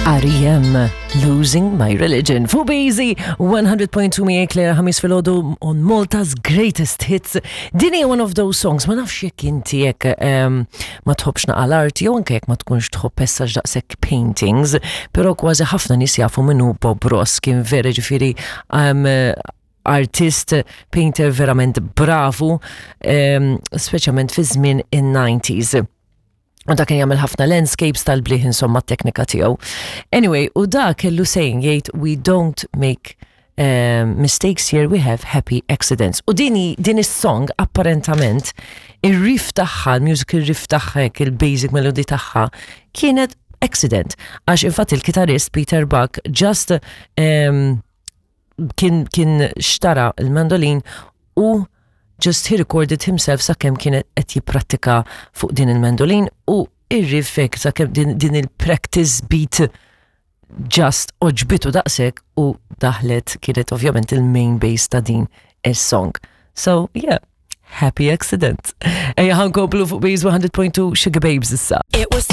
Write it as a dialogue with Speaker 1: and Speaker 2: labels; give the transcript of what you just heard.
Speaker 1: R.E.M. Losing My Religion. Fuq Beezy 100.2 miegħek Claire Ħamis filgħodu on Malta's Greatest Hits. Din hija one of those songs, ma nafx jekk inti jekk um, ma tħobbx naqa l-art jew anke jekk ma tkunx tħobb pessaġ daqshekk paintings, però kważi ħafna nies jafu minnu Bob Ross kien vera ġifieri um, artist, painter verament bravu, um, speċjalment fi żmien in-90s. U da kien jagħmel ħafna landscapes tal-bliħ insomma t-teknika tiegħu. Anyway, u da kellu saying jgħid we don't make um, mistakes here, we have happy accidents. U dini din is-song apparentament ir-riff tagħha, il-musical riff tagħha, il-basic melody tagħha kienet accident. Għax infatti il-kitarist Peter Buck just um, kien, kien xtara il-mandolin u just he recorded himself sakemm kien qed jipprattika fuq din il-mandolin u ir-riff hekk sakemm din, din il-practice beat just oġbitu daqshekk u daħlet kienet ovvjament il-main bass ta' din is-song. So, yeah, happy accident. Ejja ħankomplu fuq Base 100.2 Sugar Babes issa.
Speaker 2: It was